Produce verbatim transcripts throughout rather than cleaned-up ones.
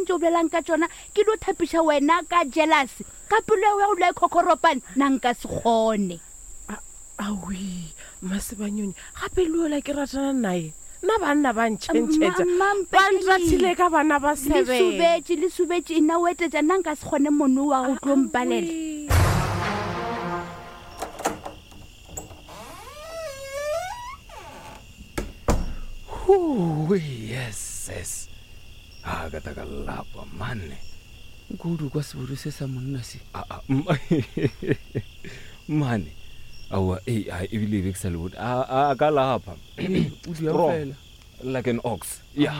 Ntse o bolelang ka tsona ke dio thapiša wena ka jealous ka pelo ya go dula e khokhoropane nna nka se kgone. Awi Masebanyoni gape le yola ke ratana naye nna banna ba ntšhentšhetša ba nrathile ka bana ba Le seven. subetše le subetše nna o etetša nna nka se kgone mono wa go tlo mpalela. Huu, yes yes a ka ta ka lapa mane nkudu kwa sebodu se sa monna se A- a, m- mane aowa ee a ebile e be ke sa le bone a a ka lapa o dia Strong, fela like an ox ya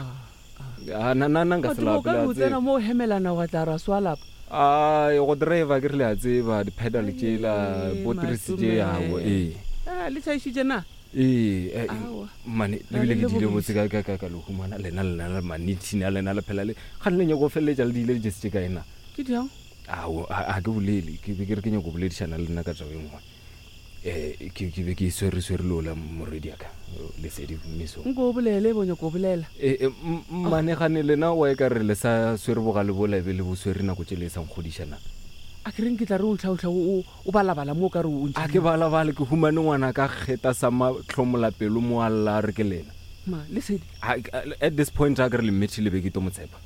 Ah, na na nna nka se Batho o lape ka le re a o tsena tseba. mo o hemelana wa tla ra swa lapa Ai, go driver ke re le a tseba di-pedal tšela Ai, botrisi tše Matome. ao ee Ah, le tšhaišitše na ee eh, Aowa. mane Ra lebile le ke diile lebogiša. botse ka- ka- ka ka le humana lena lena le manitšhini a lena le phela le gane le nyako feleletša le diile dijesi tše ka ena ke diang ao a a ke bolele ke be ke re ke nyako boledišana le nna ka taba e nngwe um ke ke be ke swere swere le ola morwedi aka lesedi mesong nko o bolele bo nyako o bolela ee mane gane lena wa e ka re le sa swere bogale bola e be le bo swere nako tše le e sa nkgodišana a ke reng ke tla re o tlhaotlha o o balabala mo o ka re o a ke balabale ke humane ngwana ka kgeta sa matlhomolapelo mo a lla a re ke lena ma lesedi A- a- at this point a ke re le mmetšhile be ke to mo tshepa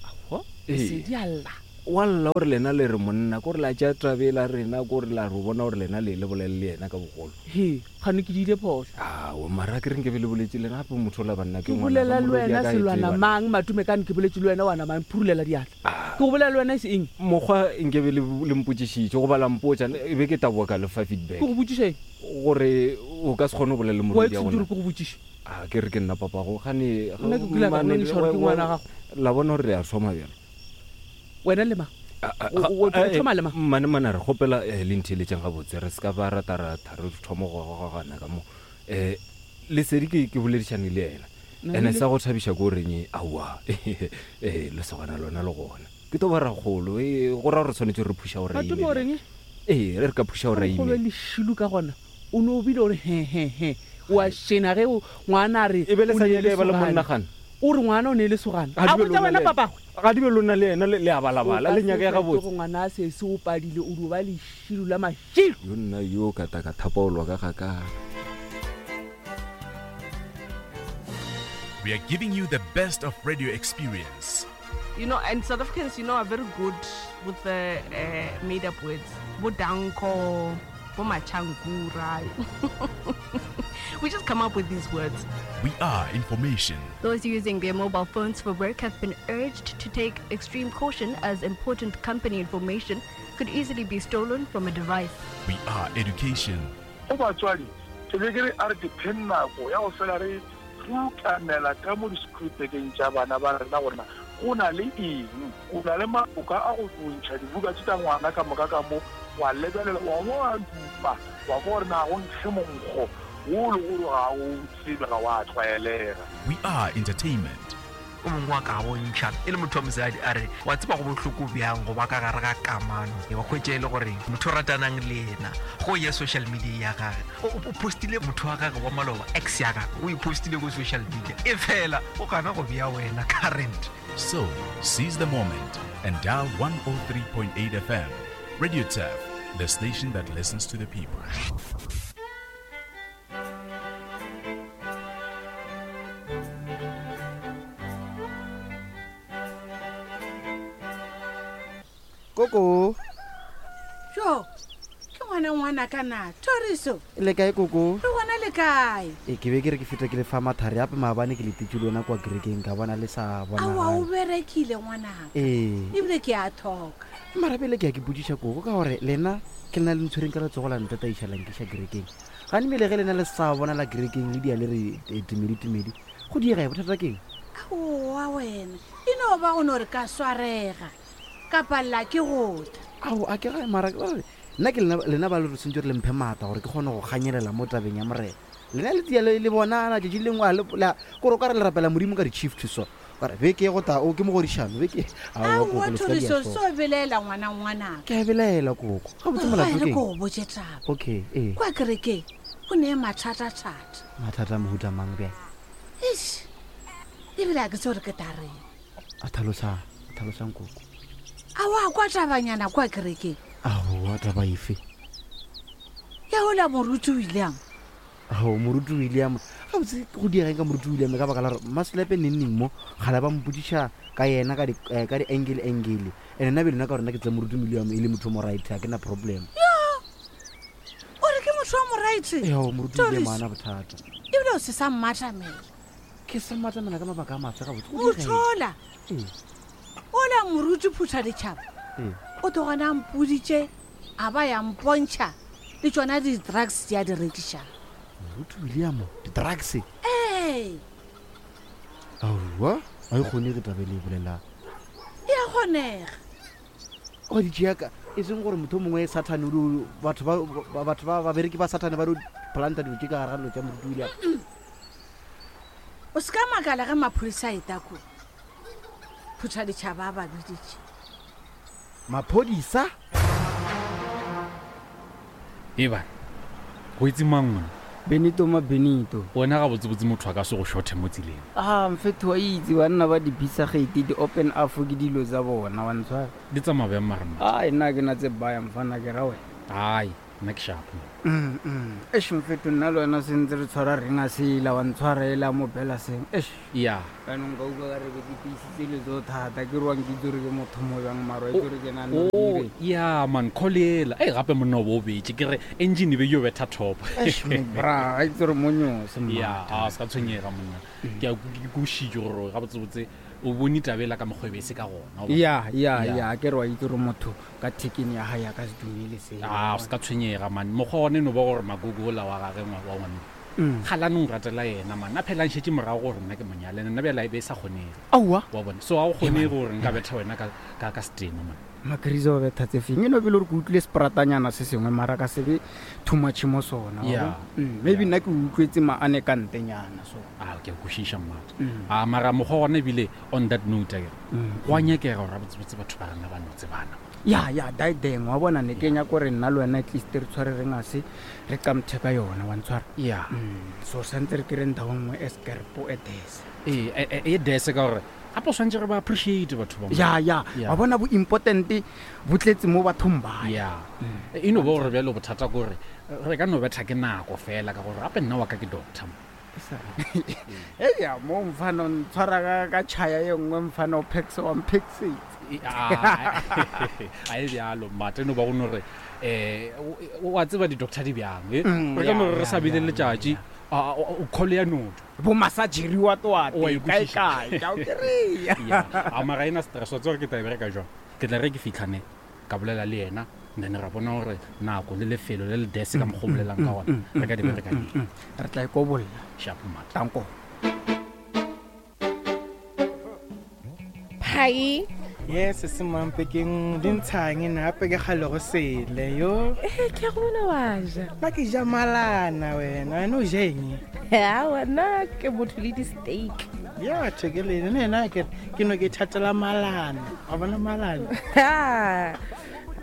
aowa Ee. lesedi a lla wa lla gore lena le re monna ko re la tša tabela rena ko re la re bona gore lena le le bolele le yena ka bogolo he gane ke diile phoso ao mara ke reng ke be le boletse lena gape motho ola banna ke bolela le wena selwana mang matome kane ke boletse le wena wana mang phurulela diatla ke go bolela le wena e se eng mokgwa nke be le le mpotsišitše goba la mpotsa e be ke taboa ka lefa feedback ke go botšiša eng gore o ka se kgone go bolela le wa morwedi ya etse gona ke go botšiše a ke re ke nna papago gane Nna ke kile ka mane- nonisa gore ke ngwana gago. la bona gore re a thoma bjalo wena le mang A- a- O- o- o a- thoma le mang? mane mane re kgopela eh, le ntheeletseng gabotse re se ka ba rataratha re thoma go gogagana ka mo um lesedi ke ke boledišane le ena Na ene le- sa go thabiša ko goreng aowa um lesogana lona le gona ke to ba ragolo ee, go ra gore tshwanetse re phuša gore matome o reng ee re re ka phuša gore go be lešilo ka gona o ne o bile ore hehehe o a shena ge o- ngwana a re E be le o sa ne nyake e ba le lesogana. monnagana. o re ngwana o ne le sogana Ga di a be botsa lona wena le- papagwe ga di be lona le ena le le a balabala le nyaka ya gabotse ngwana a sese o padile o dio ba lešilo la mašilo yo nna yo ka ta ka thapaolwa ka gakana We are giving you the best of radio experience. You know, and South Africans, you know, are very good with the uh, made up words. Bodanko, bomachangura. We just come up with these words. We are information. Those using their mobile phones for work have been urged to take extreme caution as important company information could easily be stolen from a device. We are education. Go batswadi ke be ke re a re dipheng nako ya go fela re rutamela ka mo di-screwbekeng tša bana ba rena gorena go na le eng o na le maboka a go ntšha dibuka tše tša ngwana ka moka ka mo wa lebelela wa bo wa dupa wa kwa gore na go nkge monkgo wo le gore ga o tsebe ga wa tlwaelega. We are entertainment. O mongwe wa ka bontšha e le motho wa mosadi a re wa tseba go bohloko bjang go ba ka gare ga kamano wa hwetša e le gore motho o ratanang le yena go ya social media ya gage o o postile motho wa gage wa maloba ex ya gage o e postile ko social media e fela o gana go bea wena current. So, seize the moment and dial one oh three point eight F M. Radio Turf, the station that listens to the people. Koko. Jo, ke ngwana ngwana ka na Thoriso. Le kae koko? Re gona le kae? E ke be ke re ke feta ke le fa mathari ape maabane ke letetše le yona kwa kerekeng ka bona le sa Aowa o bonagale. berekile ngwanaka. Ee. Ebile ke a thoka. Mara pele ke ya ke botšiša koko ka gore lena ke lena le ntshwereng ka letsogo la ntataiša la nkiša kerekeng. Gane mmele ge lena le sa bona la kerekeng le dia le re eh, tumedi tumedi go diega e bothata keng? Aowa wena, e no ba go no re ka swarega. Ka palela ke go tla. Ao, a ke ga mara ke gore nna ke lena, lena ba le re sentse re le mphe maatla gore ke kgone go ganyelela mo tabeng ya morena. Lena le tia le, le bonana tšatši le lengwe a le, la, kore o ka re le rapela modimo ka di-chief to so. Ka re beke e go ta, o ke mogodišano, beke e. Aowa, Aowa, koko, le se ka dia Thoriso, so. so belaela ngwana ngwanaka. Ke a belaela koko. Gabotse Aowa, molato e re ke ko eng? go botše taba. Okay, ee. Kwa kerekeng go ne mathatathata. Mathata a mohuta mang bjale? Eish, ebile ha ke tsebe gore ke tla reng. A tlhalosa. Tlhalosang koko. A wa kwa tabanyana kwa kerekeng? Aowa, taba efe? Ya ola moruti William. Ao, moruti William gabotse go diegeng ka moruti William ka baka la gore Maslepe nenneng mo gala ba mpodiša ka yena ka di-angle angle ene nna bele nna ka gore nna ke tse moruti William e le motho o mo right, ga ke na problem. O re ke motho wa mo right? Eo, moruti William ana bothata. Ebile o se sa mmatamela. Ke sa mmatamela ka mabaka a mafe gabotse? Go diega eng? Mothola. Ee. Ola moruti phutha ditšhaba. Ee. O togana a mpoditše a ba ya mpontšha le tšona di-drugs di a di rekišang. Moruti William di-drugs? Ee. Aowa, ga e kgonege taba e le e bolelang. E a kgonega. Wa di tšea ka e seng gore motho o mongwe Sathane o dio- batho ba ba- batho ba babereki ba Sathane ba dio planta dilo tše ka gare ga dilo tša moruti William. O se ka makala ge maphodisa a eta ko phutha ditšhaba a ba biditše. Maphodisa? E bana, go itse mang mona? Benito ma Benito. Wena ga botsebotse motho a ka se go shothe mo tseleng. Ah, mfetho wa itse banna ba di-pizza-gate di-open up ke dilo tsa bona wa ntshwara. Di tsamaya bjang mara motho? Ai, nna ke na tse baya mfana ke ra wena. Ai, nna ke sharp. Mm, mm. Eish mfetho nna le wena sentse re tshwara ring a sela wa ntshwara ela mo bela seng. Eish. Ya. Jaanong ka utlwa ka re be ke tiisitse letsogo thata ke re wa nkitse gore ke motho mo bjang mara wa itse gore ke na le Oh, dire. ya man, call ela. Ei gape monna o bo o betše ke re engine e be yo betha top. Eish bra, a itse gore mo nyose mma. Ya, a se ka tshwenyega monna. Ke a ke kušitše gore ga botsebotse o bone taba ela ka mokgwa e be e se ka gona. wa bona. Ya, ya, Ya. ya, ke re wa itse gore motho ka thekeng ya hae a ka se dumele seo. A o se ka tshwenyega man. Mokgwa one no ba gore magogo ola wa gage ngwa- wa ngwane. Mm. Galane o ratela yena man. A phela a nšetše morago gore nna ke monyale nna bjale e be e sa kgonege. Aowa. Wa bona. So ga go kgonege gore nka betha wena ka ka ka setena man. Makrisa o betha tse feng e no bele gore ke utlwile separatanyana se sengwe mara ka se be too much mo sona wa Yeah. bona? Mm, maybe nna ke utlwetse maane ka ntenyana so. A ke a kwešiša mmata. Mm. A mara mokgwa gona ebile on that note akere. Mm. Go a nyakega gore botsebotse batho ba rena ba no tsebana. Ya, ya, daideng wa bona ne ke nyaka gore nna le wena at least re tshware re ngase re qamthe ka yona wa ntshwara. Ya. Mm, so santse re kry ndao nngwe e skerpo e dese. Ee, e- e e dese ka gore gape o tshwanetse re ba appreciate batho ba mo. Ya, ya, Ya. wa bona bo important bo tletse mo bathong ba. Ya. E no ba gore bjalo bothata ke gore re ka no betha ke nako fela ka gore gape nna wa ka ke doctor. Eya, mo mfana o ntshwara ka ka tšhaya ye nngwe mfana o phexe wa mphexetse. A a e bjalo mmata e no ba go no re um wa tseba di-doctor di bjang e Mm, re ka ya, no re re ya, sa bile ya, letšatši a- a- o call ya noto. Bo massageri wa twate, Wa e kae kwešiša. kae, ke a o kry-a. Ya, a mara ena stress wa tseba gore ke tla e bereka jwang. Ke tla re ke fitlhane ka bolela le yena then ra bona gore nako le lefelo le le dese ka mokgwa o bolelang ka gona re ka di bereka neng. Re tla ikobolla. Sharp mmata. Tanko. Phai. Yes, se mampekeng di ntshang nna gape ke kgale go sele yo. Eh, ke a go bona wa ja. Nna ke ja malana wena, wena o ja eng? Aowa, nna ke motho le di-steak. Ya batho ke lene le ena ke ke no ke ithatela malana. Wa bona malana? Ha,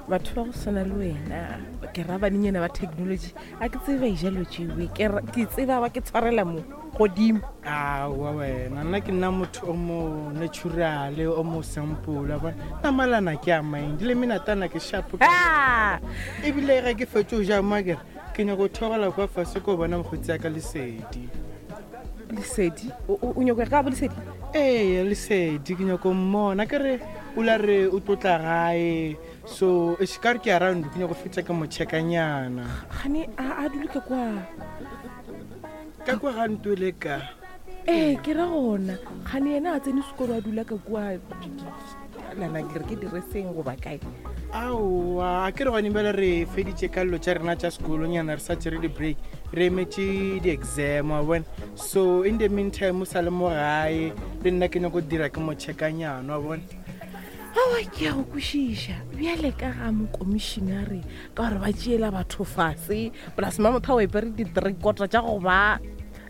batho ba go tshwana le wena ke ra banenyana ba technology a ke tsebe ba e jalo tšewe ke ra- ke tseba ba ke tshwarela mo godimo. Aowa wena, nna ke nna motho o mo natural, o mo simple, wa bona. Nna malana ke a mind le menatana ke sharp. Ebile ge ke fetše go ja mo akere ke nyaka go theogela kwa fase ko bona mokgotsi ya ka Lesedi. Lesedi? O o- o nyaka go ya ka bo Lesedi? Ee, Lesedi ke nyaka go mmona ke re o la re o tlotla gae so e ka re ke around ke nyaka go fetša ke mo checkanyana. Gane a a dule ka kwa. Ka kwa ga ntwele ka. Ee, ke ra gona gane yena a tsene sekolo a dula ka kua nana ke re ke direseng goba kae. Aowa, a ke re gone bjale re feditše ka dilo tša rena tša sekolonyana re sa tšere di-break re emetše di-exam wa bona. So in the meantime o sa le mo gae le nna ke nyako dira ke mo checkanyana wa bona. Aowa, ke a go kwešiša bjale ka ga mokomišinare ka gore ba tšeela batho fase plus mamotho a o epere di-three quarter tša go ba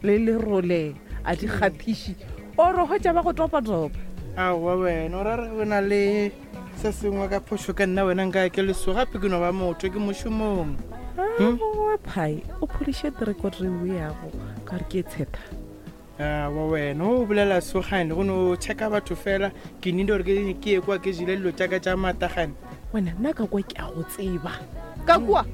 le lerole a di kgathiše ore hwetša ba go topa-topa. Aowa wena o ra re go na le se sengwe ka phošo ka nna wena nka ke leso gape ke no ba motho ke mošomong. Aowa phai o pholiše three quarter eo yago ka gore ke e tshetha. Wa wena o bolela sogane go no checka batho fela ke nile gore ke ke ye kwa ke jele dilo tšaka tša matagane. Wena nna ka kwa ke a go tseba ka kua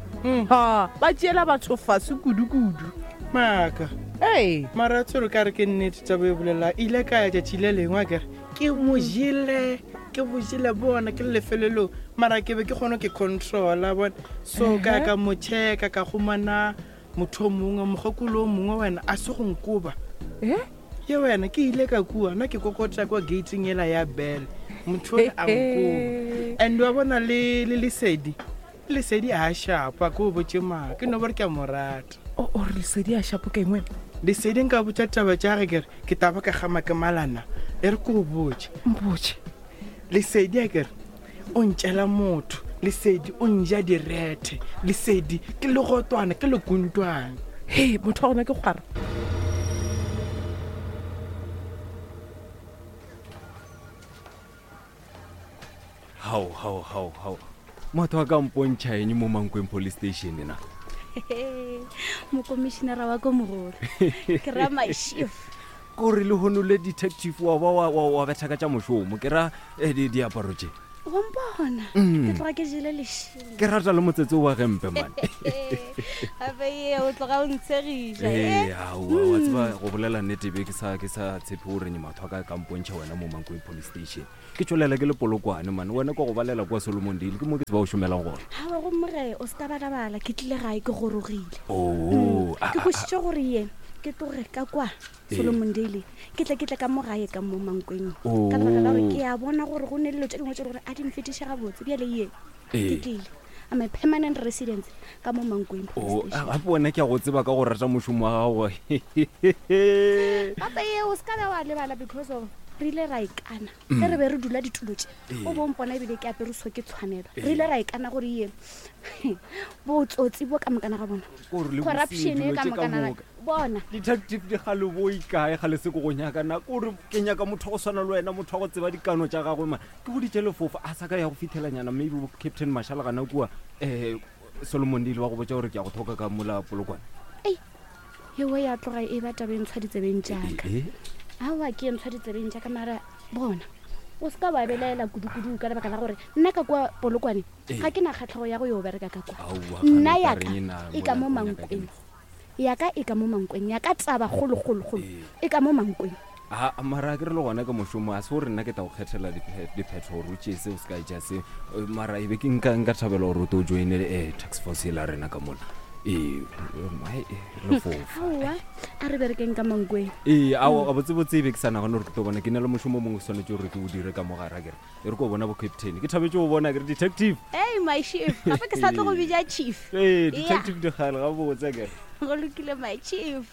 ha ba tšeela batho fase kudu-kudu. Maaka ee mara tsore ka re ke nnete tsa bo e bolela ile ka ya tšatši le lengwe a kere ke mo jele ke bo jele bona ke le lefelelong mara ke be ke kgone ke controla bona so ka ka mo checka ka humana motho o mongwe mogokolo o mongwe wena a se go nkoba ye wena ke ile ka kua nna ke kokota kwa gateng ela ya bell motho ole a nkoba and wa bona le le lesedi lesedi a shapa ke o botse maa ke no bore ke a mo rata. O re lesedi a shapo ke eng wena? Lesedi nka botsa taba tša ge kere ke taba ka gama ke malana e re ko o botse. Mpotse. Lesedi a kere o ntšela motho lesedi o nja direthe lesedi ke legotwana ke lekuntwane. He motho wa gona ke kgwara. Hao hao hao hao motho a ka mpontšha eng mo Mankweng police station na? Mokomišenara wa ko mogolo ke ra my chief kore le hono le detective wa ba wa wa betha ka tša mošomo ke ra eh, di diaparo tše wa mpona Mm. ke tloga ke jele lešilo ke rata le motsetse wa gempe mane. Gape ye o tloga o ntshegiša ee eh? aowa wa tseba go bolela nnete be ke sa ke sa tshepe gore motho a ka ka mpontšha wena mo Mankweng police station ke tswelela ke le polokwane mane wena ko go balela kwa Solomon Dale ke mo ke tseba o šomelang gona. Gawa gomme ge o se ka balabala ke tlile gae ke gorogile. Oo ke kwešiše gore ye ke tloge ka kwa Ee. Solomon Dale ke tle ke tle ka mo gae ka mo Mankweng Oo. ka lebaka la gore ke a bona gore go ne dilo tše dingwe tše le gore a di mfetiše gabotse bjale ye ke Ee. tlile I'm a permanent residence ka mo Mankweng o gape wena ke a go tseba ka go rata mošomo wa gago. Gape ye o se ka be wa lebala because of re ile ra ikana Mm. ge re be re dula ditulo tše Ee. o bo mpona ebile ke apere so ke tshwanelo Ee. re ile ra ikana gore ye botsotsi bo ka mokana ga bona Kore le corruption bosenyi, e ka dilo tše ka mokana ga- moka. bona Detective dikgale bo ikae ga le se ko go nyaka na kore ke nyaka motho wa go swana le wena motho wa go tseba dikano tša gagwe man ke boditše lefofa a sa ka ya go fitlhelanyana maybe bo Captain Mashala gana kua um Solomon Dale wa go botsa gore ke ya go thoka ka mola polokwane. ewe ya tloga e ba taba e ntshwa ditsebeng jaaka Eh, aowa ke e ntshwa ditsebeng jaaka mara bona o se ka wa belaela kudu-kudu ka lebaka la gore nna ka kwa polokwane Ee. ga ke na kgatlhego ya go yo bereka ka kwa Aowa, nna kgane o ka yaka reng na e ka mo mola o nyaka ke Mankweng yaka e ka mo Mankweng yaka taba kgolokgolokgolo e ka mo Mankweng. A mara ke re le gona ka mošomo a se gore nna ke tla go kgethela diphe- diphetho gore o tšee se o se ka etša se. Eh, mara e be ke nka nka thabela gore o to o joine um tax force e la rena ka mola ee eh, lefofa. Aowa a re berekeng ka Mankweng. Ee ao gabotsebotse e be ke sa nagane gore ke tlo bona ke na le mošomo o mongwe ke swanetse gore ke o dire ka mogare a kere e re ko bona bo captain ke thabetse go bona kere detective. Ei my chief gape ke sa tlo go bitša chief. Ee Yeah. detective dikgale gabotse a kere. Go lokile my chief.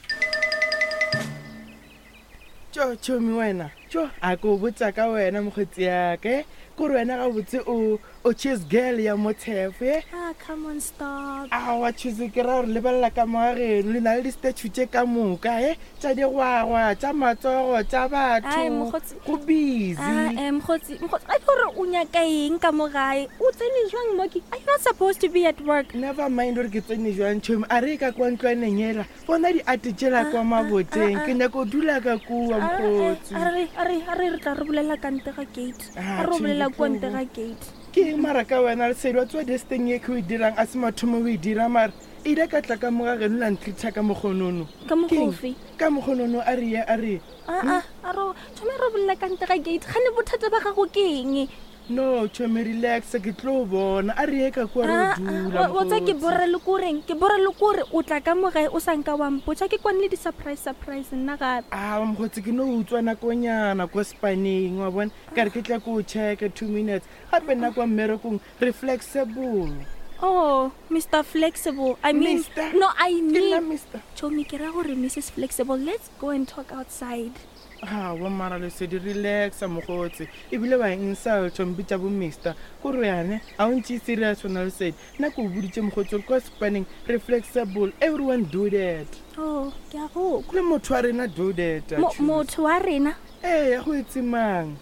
Tšo tšhomi wena tšo a ko botsa ka wena mokgotsi yaka kore wena gabotse o o chase girl ya motshefo e. Ah, come on, stop. Aowa chase ke ra gore lebelela ka mo gageno le na le di-statue tše ka moka e tša digwagwa tša matsogo tša Ai, batho mokgotsi. go busy. Ah, eh, mokgotsi, mokgotsi, a ke gore o nyaka eng ka mo gae? O tsene jwang mo ke? Are you not supposed to be at work? Never mind gore ke tsene jwang tšhomi a re ka kwa ntlwaneng ela bona di-ate tšela kwa maboteng ke nyaka go dula ka kua mokgotsi. A re a re a re re tla re bolela ka ntle ga gate. Ah, A re o tjhe, bolela ke kua tlo ntle bo- ga gate. Ke eng mara ka wena lesedi wa tsewa desteng e ke o e dirang a se mathomo o e dira mara e ile ka tla ka mo ga geno la ntreata ka mokgonono. Ka mokgwa Ke eng? ofe? Ka mokgonono a re ye a re ye. Ah, ah, a re thome re bolela ka ntle ga gate. Gane bothata ba gago ke eng? No tšhomi relax ke tlo bona a re ye ka kua re Ah, o dula wa tsa ke mokgotsi. bora le koreng ke bora le kore o tla ka mo gae o sa nka wa mpotsa ke kwane le di-surprise surprise nna gape. A mokgotsi ke no utswa nakonyana ko spaneng wa bona ka re ke tla ko o checka two minutes gape nna kwa mmerekong re flexible. Oh, Mister Flexible. I mean, Mister? no, I mean, Mister. Chomi, ke ra gore Missus Flexible. Let's go and talk outside. Aowa mara lesedi relaxa mokgotsi ebile wa insult mpitša bo mister kore yane a o ntše serious wena lesedi nna ke o boditše mokgotsi gore kwa spaneng re flexible everyone do that. Oh, ke a go. Le motho wa rena do that. Mo- motho wa rena? Ee go itse mang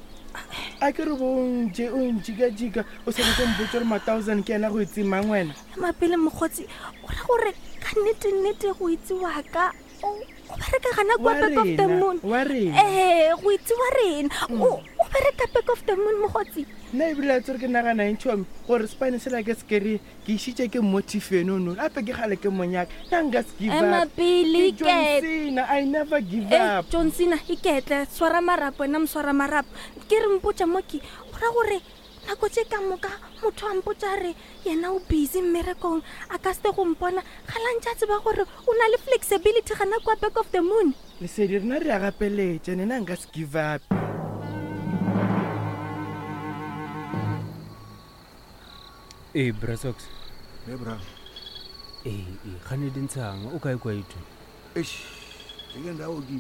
a ke re bo o ntše o ntšikajika o sa nyako mpotse gore ma-thousand ke ena go itse mang wena. Mapele mokgotsi, o ra gore ka nnete nnete go itse wa ka. Oh, O bereka gana kwa Wa back of the rena, moon. wa rena. Eh, go itse wa rena. O o bereka back of the moon mogotsi. Nna ebile a tsere ke nagana eng tšhomi gore spane sela ke se kry ke išitše ke motifenono gape ke gale ke monyaka nna nka se give Ema up. pele, Ke John iketle. Cena, I never give Eh, up. John Cena iketle swara marapo wena moswara marapo ke re mpotša moki go ra gore nako tše ka moka motho a mpotša re yena o busy mmerekong a ka sete go mpona ga lantše a tseba gore o na le flexibility gana kwa back of the moon Lesedi rena re a gapeletša nena nka se give up. Ee, Brasox. Ee, bra. Ee, ee, gane di ntshang o kae kwa itho? Eish, ke ndawo ke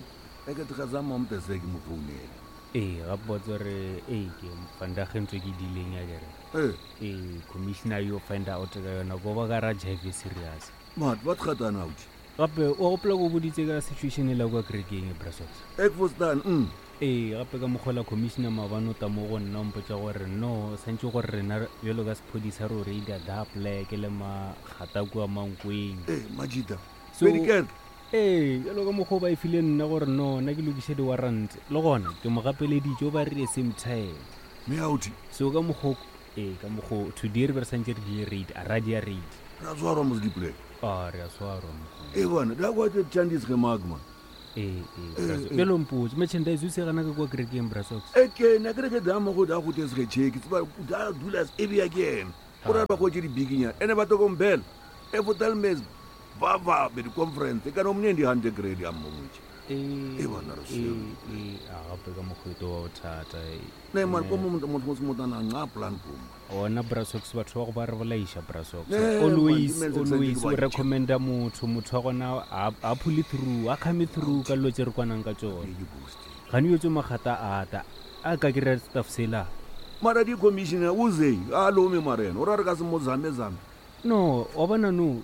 eke tigazama umtese ke mo founela. Ee, gape wa tseba gore ee ke vandag ntse ke dileng ya kere. Ee. Ee, commissioner yo find out ka yona ko ba ka ra jive serious. Mat, wat gaat daar nou? Gape o gopola ko boditse ka situation e la kwa kerekeng Brasox. Ek verstaan, mm. Ee, gape ka mokgola commissioner maabane o ta mo go nna o mpotsa gore no santse gore rena bjalo ka sephodisa re o reida da pleke le magata kua mankweng. Ee, majita. So, Pedi ee bjalo ka mokgwa o ba e file nna gore no nna ke lokiše di-warrant le gona ke mo gapeleditše o ba rile same time mme authi so ka mokgwa ee ka mokgwa today re be re santse re die raid a ra dia raid Ra tshwarwa mos diplek. a re a tshwarwa mokgwa Ee bana, da kwa tse chandis ge mark man. ee Eh, ee eh. bjalo mpotse merchandise o se gana ka kwa kerekeng brasox Eke na kere ke dama go da go tes ge check tseba da dula e bia ke ena. O ra ba go tse di bikinya. Ene ba to kompela. E fotel mes ba ba be di conference ka no mne di hundred grade ya mmontse. Ee E bana re ee se. ee a gape ka mokgwa e to ba bothata ee. Ne man ko mo motho mo motana nga plan ko. ona brasox batho ba go ba re bolaiša brasox Eh, always man, di-message always tsa o di ba recommenda motho motho wa gona a- a phule through a come through ka dilo tse re kwanang ka tsone gane yo tse magata a ata a ka kry-a staff sela Mara di commissioner uze a lome marena. O ra re ka se mo zame zame. no wa bona no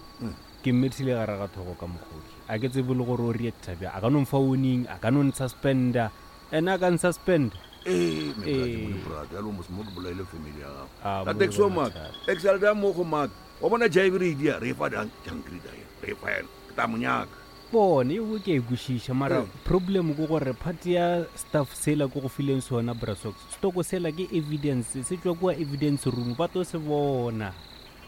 ke mmethile gare ga thogo ka mokgoki a ke tsebe le gore o reacta bja a ka no mfa warning a ka no nsuspenda ene a ka nsuspenda Ee, Ee. brother, ya lo mos mo ke bolaile family ya gago. Ah, Ka mo taxi wa bona mark. Excel da mo go mark. Wa bona jive re dia re fa dang jangri da re fa yena. Ke tla mo nyaka. bone eo ke e kwešiša mara Ee. problem ke gore part ya staff sela ko go fileng sona brasox stoko sela ke evidence se tswa kua evidence room ba to se bona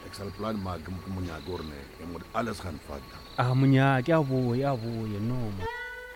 Excel plan mark ke mo nyaka gore ne e mo alles gaan vat. a monyake a boye a boye no ma.